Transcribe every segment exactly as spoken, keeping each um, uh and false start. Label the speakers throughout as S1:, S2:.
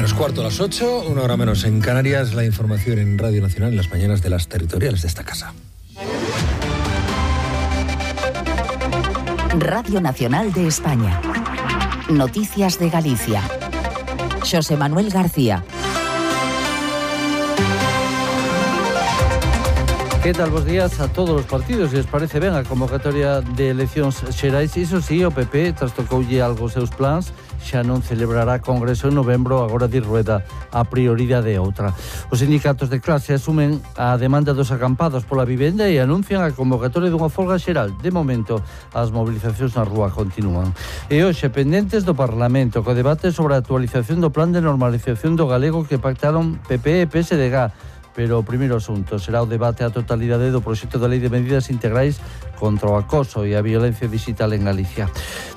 S1: Menos cuarto a las ocho, una hora menos en Canarias, la información en Radio Nacional en las mañanas de las territoriales de esta casa.
S2: Radio Nacional de España. Noticias de Galicia. Xosé Manuel García.
S3: Que tal, bos días a todos os partidos. Se les parece ben a convocatoria de eleccións xerais. Iso sí, o P P trastocoulle algo os seus plans. Xa non celebrará congreso en novembro, agora di Rueda a prioridade é outra. Os sindicatos de clase asumen a demanda dos acampados pola vivenda e anuncian a convocatoria dunha folga xeral. De momento, as mobilizacións na rúa continúan. E hoxe, pendentes do Parlamento, co debate sobre a actualización do plan de normalización do galego que pactaron P P e P S D G. Pero o primeiro asunto será o debate á totalidade do proxecto de lei de medidas integrais contra o acoso e a violencia digital en Galicia.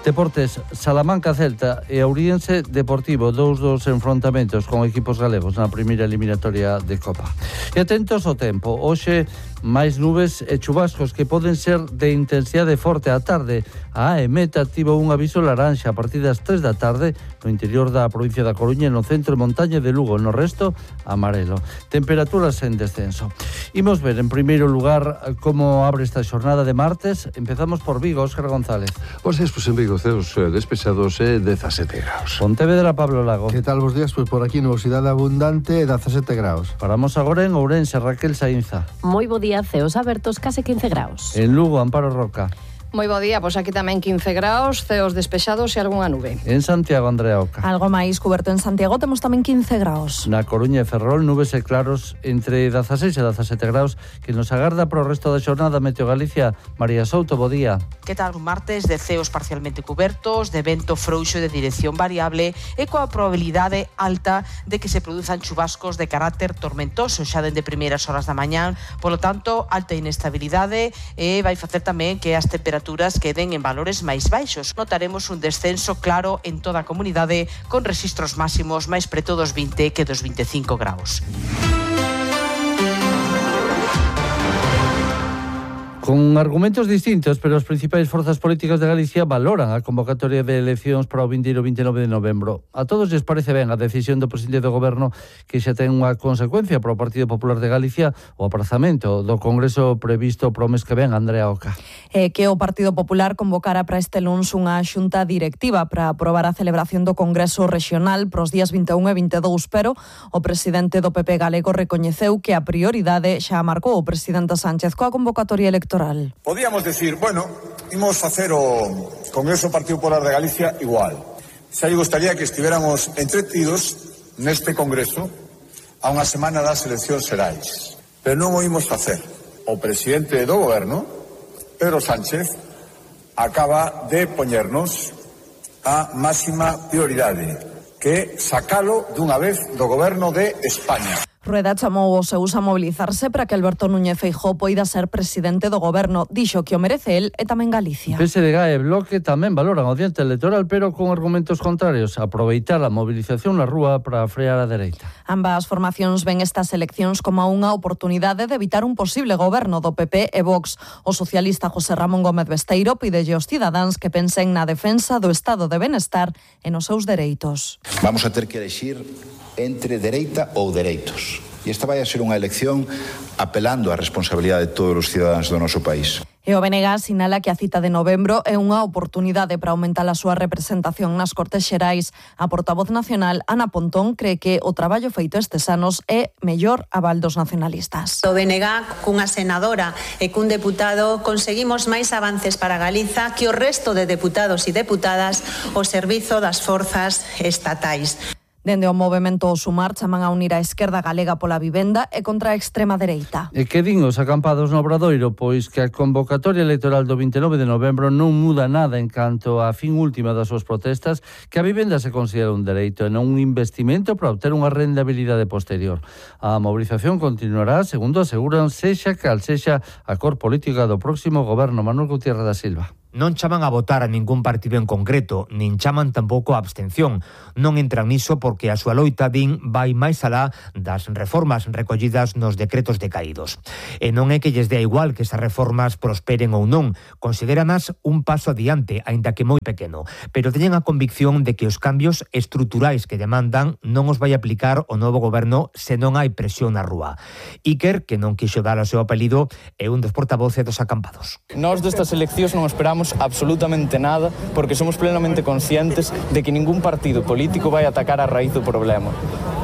S3: Deportes, Salamanca Celta e Ouriense Deportivo, dous dos enfrontamentos con equipos galegos na primeira eliminatoria de Copa. E atentos ao tempo, hoxe máis nubes e chubascos que poden ser de intensidade forte á tarde. A EMET activa un aviso laranxa a partir das tres da tarde no interior da provincia da Coruña e no centro e montaña de Lugo, no resto amarelo. Temperaturas en descenso. Imos ver en primeiro lugar como abre esta xornada de martes. Empezamos por Vigo, Óscar González.
S4: Os días, pues en Vigo, ceos eh, despechados e eh, dezasete graus.
S3: Pontevedra, Pablo Lago.
S5: Que tal vos días? Pois por aquí nubosidade abundante e dezasete graus.
S3: Paramos agora en Ourense, Raquel Sainza.
S6: Moi bo día, ceos abertos, case quince graus.
S3: En Lugo, Amparo Roca.
S7: Moi bo día, pois aquí tamén quince graus, ceos despexados e algunha nube.
S3: En Santiago, Andrea Oca.
S8: Algo máis cuberto en Santiago, temos tamén quince graus.
S3: Na Coruña e Ferrol, nubes e claros entre dezaseis e dezasete graus, que nos agarda pro resto da xornada. Meteo Galicia, María Souto, bo día.
S9: Que tal un martes de ceos parcialmente cubertos, de vento frouxo de dirección variable e coa probabilidade alta de que se produzan chubascos de carácter tormentoso xa dende primeiras horas da mañán, polo tanto, alta inestabilidade e vai facer tamén que as temperaturas queden en valores máis baixos. Notaremos un descenso claro en toda a comunidade con rexistros máximos máis preto dos vinte que dos veinticinco graus.
S3: Con argumentos distintos, pero as principais forzas políticas de Galicia valoran a convocatoria de eleccións para o vindeiro veintinove de novembro. A todos lles parece ben a decisión do presidente do goberno, que xa ten unha consecuencia para o Partido Popular de Galicia, o aprazamento do congreso previsto pro mes que ven. Andrea Oca.
S8: Eh, que o Partido Popular convocara para este luns unha xunta directiva para aprobar a celebración do congreso regional pros días vinte e un e vinte e dous, pero o presidente do P P galego recoñeceu que a prioridade xa marcou o presidente Sánchez coa convocatoria electoral.
S10: Podíamos decir, bueno, imos facer o Congreso do Partido Popular de Galicia igual. Xa lle gustaría que estiveramos entretidos neste Congreso a unha semana das eleccións xerais. Pero non o imos facer. O presidente do goberno, Pedro Sánchez, acaba de poñernos a máxima prioridade, que sacalo dunha vez do goberno de España.
S8: Rueda chamou os seus a mobilizarse para que Alberto Núñez Feijóo poida ser presidente do goberno. Dixo que o merece el e tamén Galicia.
S3: P S D G e Bloque tamén valoran o diante electoral, pero con argumentos contrarios. Aproveitar a mobilización na rúa para frear a dereita.
S8: Ambas formacións ven estas eleccións como unha oportunidade de evitar un posible goberno do P P e Vox. O socialista José Ramón Gómez Besteiro pídelle aos cidadáns que pensen na defensa do estado de benestar e nos seus dereitos.
S11: Vamos a ter que elexir entre dereita ou dereitos. E esta vai a ser unha elección apelando á responsabilidade de todos os cidadáns do noso país.
S8: E o B N G sinala que a cita de novembro é unha oportunidade para aumentar a súa representación nas Cortes Xerais. A portavoz nacional, Ana Pontón, cree que o traballo feito estes anos é mellor aval dos nacionalistas.
S12: O B N G, cunha senadora e cun deputado, conseguimos máis avances para Galiza que o resto de deputados e deputadas ao servizo das forzas estatais.
S8: Dende o movemento Sumar chaman a unir a esquerda galega pola vivenda e contra a extrema dereita.
S3: E que din os acampados no Obradoiro? Pois que a convocatoria electoral do vinte e nove de novembro non muda nada en canto á fin última das súas protestas, que a vivenda se considera un dereito e non un investimento para obter unha rendabilidade posterior. A mobilización continuará, segundo aseguran, sexa cal sexa a cor política do próximo goberno. Manuel Gutiérrez da Silva.
S13: Non chaman a votar a ningún partido en concreto, nin chaman tampouco a abstención. Non entran niso porque a súa loita, din, vai máis alá das reformas recollidas nos decretos decaídos. E non é que lles dea igual que esas reformas prosperen ou non, considéranas un paso adiante, aínda que moi pequeno, pero teñen a convicción de que os cambios estruturais que demandan non os vai aplicar o novo goberno se non hai presión na rúa. Iker, que non quixo dar o seu apelido, é un dos portavoces dos acampados.
S14: Nós destas eleccións non esperamos absolutamente nada porque somos plenamente conscientes de que ningún partido político vai atacar a raíz do problema.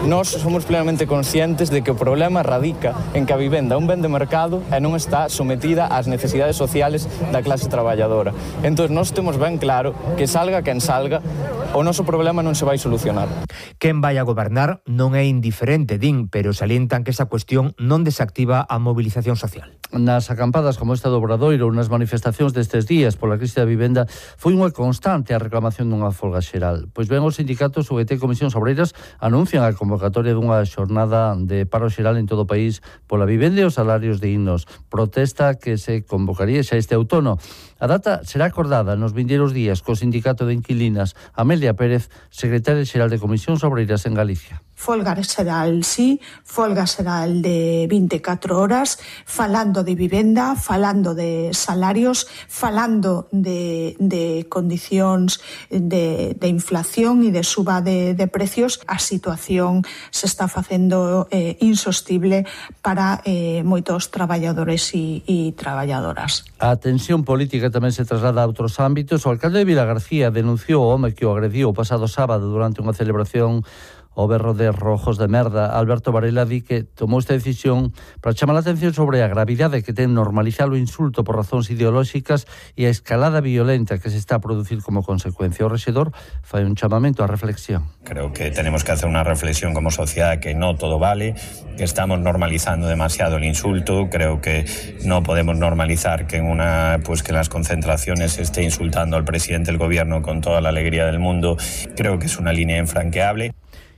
S14: Nós somos plenamente conscientes de que o problema radica en que a vivenda é un ben de mercado e non está sometida ás necesidades sociales da clase traballadora. Entón, nós temos ben claro que salga quen salga, o noso problema non se vai solucionar.
S13: Quen vai a gobernar non é indiferente, din, pero salientan que esa cuestión non desactiva a movilización social.
S3: Nas acampadas como esta do Obradoiro ou nas manifestacións destes días pola crise da vivenda foi unha constante a reclamación dunha folga xeral. Pois ben, os sindicatos U G T e Comisións Obreiras anuncian a convocatoria dunha xornada de paro xeral en todo o país pola vivenda e os salarios dignos. Protesta que se convocaría xa este outono. A data será acordada nos vindeiros días co Sindicato de Inquilinas. Amelia Pérez, secretaria xeral de Comisións Obreiras en Galicia.
S15: Folga xeral, sí, folga xeral de vinte e catro horas, falando de vivenda, falando de salarios, falando de, de condicións de, de inflación e de suba de, de precios. A situación se está facendo eh, insostible para eh, moitos traballadores e, e traballadoras.
S3: A tensión política tamén se traslada a outros ámbitos. O alcalde de Vilagarcía denunciou o home que o agrediu o pasado sábado durante unha celebración o berro de rojos de merda. Alberto Varela di que tomou esta decisión para chamar a atención sobre a gravidade que ten normalizar o insulto por razóns ideolóxicas e a escalada violenta que se está a producir como consecuencia. O rexedor fai un chamamento á reflexión.
S16: Creo que tenemos que hacer una reflexión como sociedad que no todo vale, que estamos normalizando demasiado el insulto. Creo que no podemos normalizar que en una pues que en las concentraciones se esté insultando al presidente del gobierno con toda la alegría del mundo. Creo que es una línea infranqueable.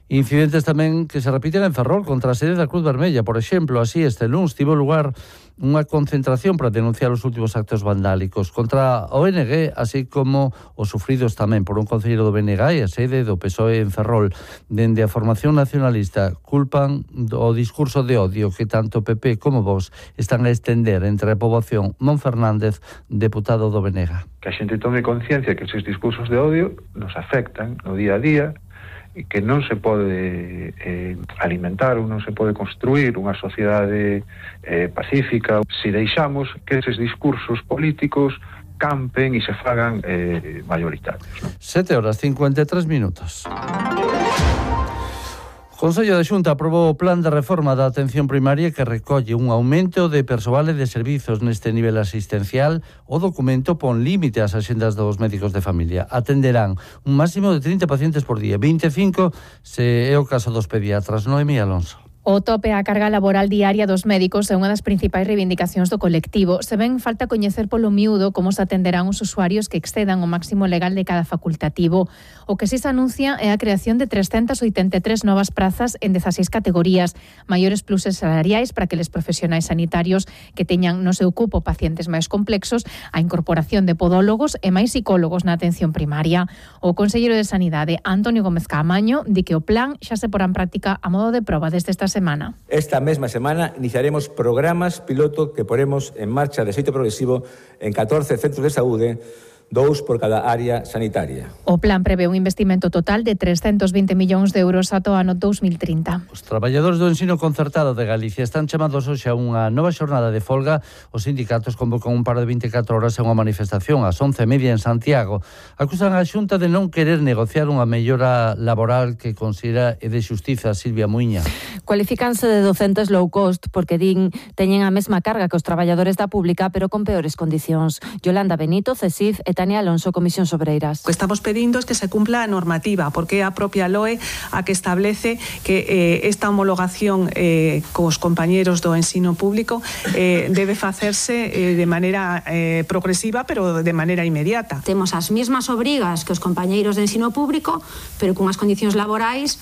S3: Incidentes tamén que se repiten en Ferrol contra a sede da Cruz Vermella. Por exemplo, así este luns tivo lugar unha concentración para denunciar os últimos actos vandálicos contra o O N G, así como os sufridos tamén por un concelleiro do B N G e a sede do P S O E en Ferrol. Dende a formación nacionalista culpan o discurso de odio que tanto P P como Vox están a estender entre a poboación. Mon Fernández, deputado do B N G.
S17: Que a xente tome conciencia que esos discursos de odio nos afectan no día a día, e que non se pode eh, alimentar ou non se pode construir unha sociedade eh, pacífica se deixamos que eses discursos políticos campen e se fagan eh, mayoritarios.
S3: sete horas cincuenta e tres minutos. O Consello da Xunta aprobou o plan de reforma da atención primaria que recolle un aumento de persoal e de servizos neste nivel asistencial. O documento pon límite ás axendas dos médicos de familia. Atenderán un máximo de trinta pacientes por día, vinte e cinco se é o caso dos pediatras. Noemí Alonso.
S18: O tope á carga laboral diaria dos médicos é unha das principais reivindicacións do colectivo. Se ven falta coñecer polo miúdo como se atenderán os usuarios que excedan o máximo legal de cada facultativo. O que si se anuncia é a creación de trescentas oitenta e tres novas prazas en dezaseis categorías, maiores pluses salariais para aqueles profesionais sanitarios que teñan no seu cupo pacientes máis complexos, a incorporación de podólogos e máis psicólogos na atención primaria. O conselleiro de Sanidade, Antonio Gómez Caamaño, di que o plan xa se porá en práctica a modo de proba desde esta semana. Semana.
S19: Esta mesma semana iniciaremos programas piloto que poremos en marcha de xeito progresivo en catorce centros de saúde, dous por cada área sanitaria.
S18: O plan prevé un investimento total de trescentos vinte millóns de euros ata o ano dos mil trinta.
S3: Os traballadores do ensino concertado de Galicia están chamados hoxe a unha nova xornada de folga. Os sindicatos convocan un par de vinte e catro horas en unha manifestación ás once e media en Santiago. Acusan a Xunta de non querer negociar unha mellora laboral que considera é de xustiza. Silvia Muiña.
S20: Cualifícanse de docentes low cost porque din teñen a mesma carga que os traballadores da pública pero con peores condicións. Yolanda Benito, CESIF e Tania Alonso, Comisións Obreiras.
S21: O que estamos pedindo es que se cumpla a normativa, porque é a propia L O E a que establece que eh, esta homologación eh, cos compañeros do ensino público eh, debe facerse eh, de maneira eh, progresiva, pero de maneira inmediata.
S22: Temos as mesmas obrigas que os compañeiros de ensino público, pero cunhas condicións laborais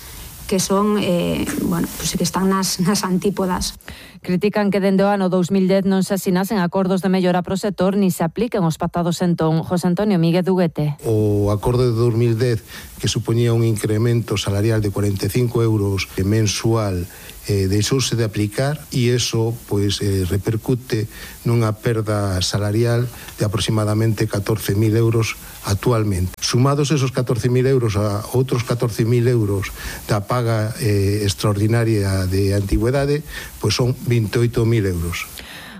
S1: que son, eh, bueno, pues que están nas, nas antípodas.
S20: Critican que dende o ano dous mil dez non se asinasen acordos de mellora pro sector ni se apliquen os pactados entón. José Antonio Míguez Duguete.
S22: O acordo de dous mil dez, que supoñía un incremento salarial de cuarenta e cinco euros mensual, eh, deixouse de aplicar e iso pois, eh, repercute nunha perda salarial de aproximadamente catorce mil euros actualmente. Sumados esos catorce mil euros a outros catorce mil euros da paga eh, extraordinaria de antigüedade, pois son veintioito mil euros.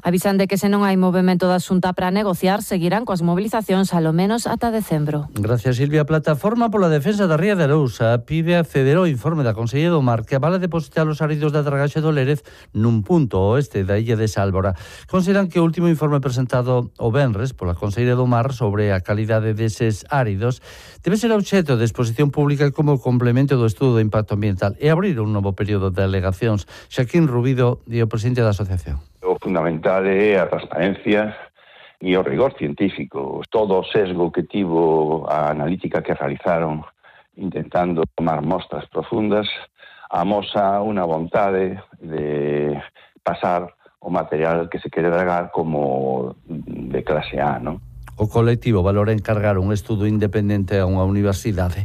S20: Avisan de que se non hai movimento da Xunta para negociar, seguirán coas mobilizacións alo menos ata decembro.
S3: Gracias, Silvia. Plataforma pola defensa da Ría de Arousa pide acceder ao informe da Consellería do Mar que avala depositar os áridos da dragaxe do Lérez nun punto oeste da illa de Sálvora. Consideran que o último informe presentado o venres pola Consellería do Mar sobre a calidade deses áridos debe ser obxecto de exposición pública como complemento do estudo de impacto ambiental e abrir un novo período de alegacións. Xaquín Rubido, e o presidente da asociación.
S23: O fundamental é a transparencia e o rigor científico. Todo o sesgo que tivo a analítica que realizaron intentando tomar mostras profundas amosa unha vontade de pasar o material que se quere dragar como de clase A, non?
S3: O colectivo valora encargar un estudo independente a unha universidade.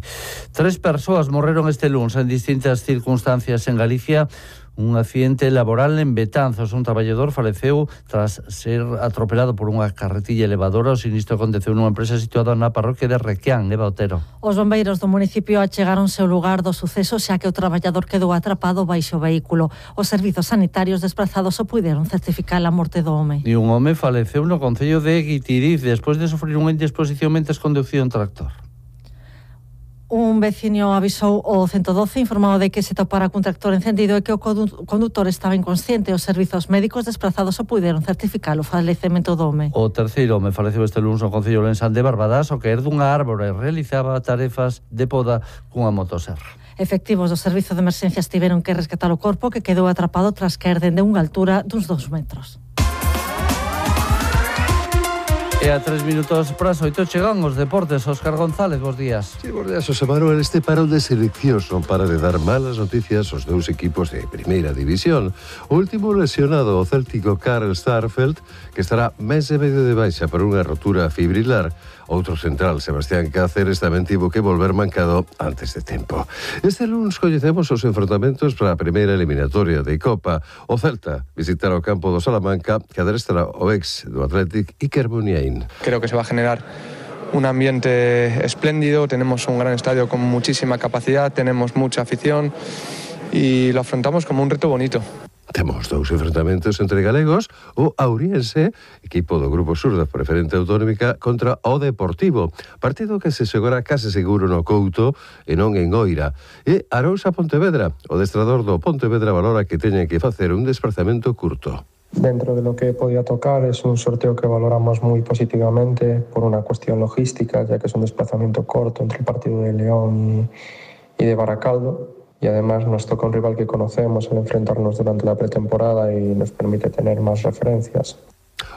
S3: Tres persoas morreron este luns en distintas circunstancias en Galicia. Un accidente laboral en Betanzos. Un traballador faleceu tras ser atropelado por unha carretilla elevadora. O sinistro aconteceu nunha empresa situada na parroquia de Requián, Eva Otero.
S24: Os bombeiros do municipio achegáronse ao lugar do suceso xa que o traballador quedou atrapado baixo o vehículo. Os servizos sanitarios desplazados o puideron certificar a morte do home.
S3: E un home faleceu no concello de Guitiriz despois de sufrir unha indisposición mentres conducía un tractor.
S24: Un veciño avisou o ciento doce informado de que se topara cun tractor encendido e que o condutor estaba inconsciente. Os servizos médicos desplazados o puideron certificar o falecemento do home.
S3: O terceiro home faleceu este lunes no concello lensán de Barbadas ao caer dunha árbore e realizaba tarefas de poda cunha motoserra.
S24: Efectivos do servizo de emerxencias tiveron que rescatar o corpo que quedou atrapado tras caer dende unha altura duns dous metros.
S3: E a tres minutos para as oito chegan os deportes. Óscar González, bons días.
S4: Sí, bons días, José Manuel. Este parón de seleccións non para de dar malas noticias aos dous equipos de primeira división. O último lesionado, o céltico Karl Starfelt, que estará mes e medio de baixa por unha rotura fibrilar. Outro central, Sebastián Cáceres, tamén tivo que volver mancado antes de tempo. Este lunes coñecemos os enfrontamentos para a primeira eliminatoria de Copa. O Celta visitará o campo do Salamanca, que adrestará o ex do Athletic, Iker Muniain.
S25: Creo que se va a generar un ambiente espléndido, tenemos un gran estadio con muchísima capacidad, tenemos mucha afición y lo afrontamos como un reto bonito.
S4: Temos dous enfrentamentos entre galegos, o Auriense, equipo do Grupo Sur da Preferente Autonómica, contra o Deportivo, partido que se xogará case seguro no Couto e non en Oira. E Arousa Pontevedra, o adestrador do Pontevedra valora que teñen que facer un desplazamento curto.
S26: Dentro de lo que podía tocar es un sorteo que valoramos muy positivamente por una cuestión logística, ya que es un desplazamiento corto entre el partido de León y, y de Baracaldo. Y además nos toca un rival que conocemos al enfrentarnos durante la pretemporada y nos permite tener más referencias.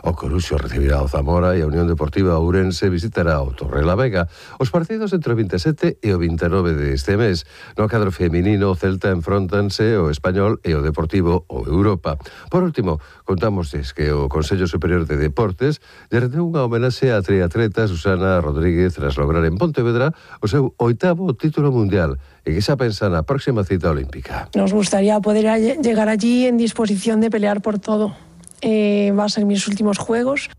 S4: O Coruxo recibirá o Zamora e a Unión Deportiva Ourense visitará o Torrelavega. Os partidos entre o vinte e sete e o vinte e nove deste mes. No cadro feminino, o Celta enfrontanse o Español e o Deportivo o Europa. Por último, contámosles que o Consello Superior de Deportes lle rendeu unha homenaxe á triatleta Susana Rodríguez tras lograr en Pontevedra o seu oitavo título mundial e que xa pensa na próxima cita olímpica.
S27: Nos gustaría poder llegar allí en disposición de pelear por todo. Eh, va a ser mis últimos juegos.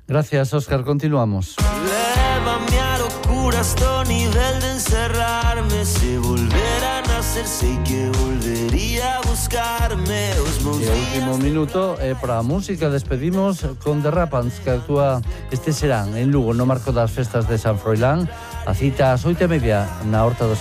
S3: Gracias, Óscar. Continuamos.
S28: Lévame a locura hasta nivel de encerrarme. Si volviera a nacer, sei que volvería a buscarme.
S3: E o último minuto é para a música. Despedimos con The Rapans, que actúa este serán en Lugo no marco das festas de San Froilán. A cita ás oito e media na Horta do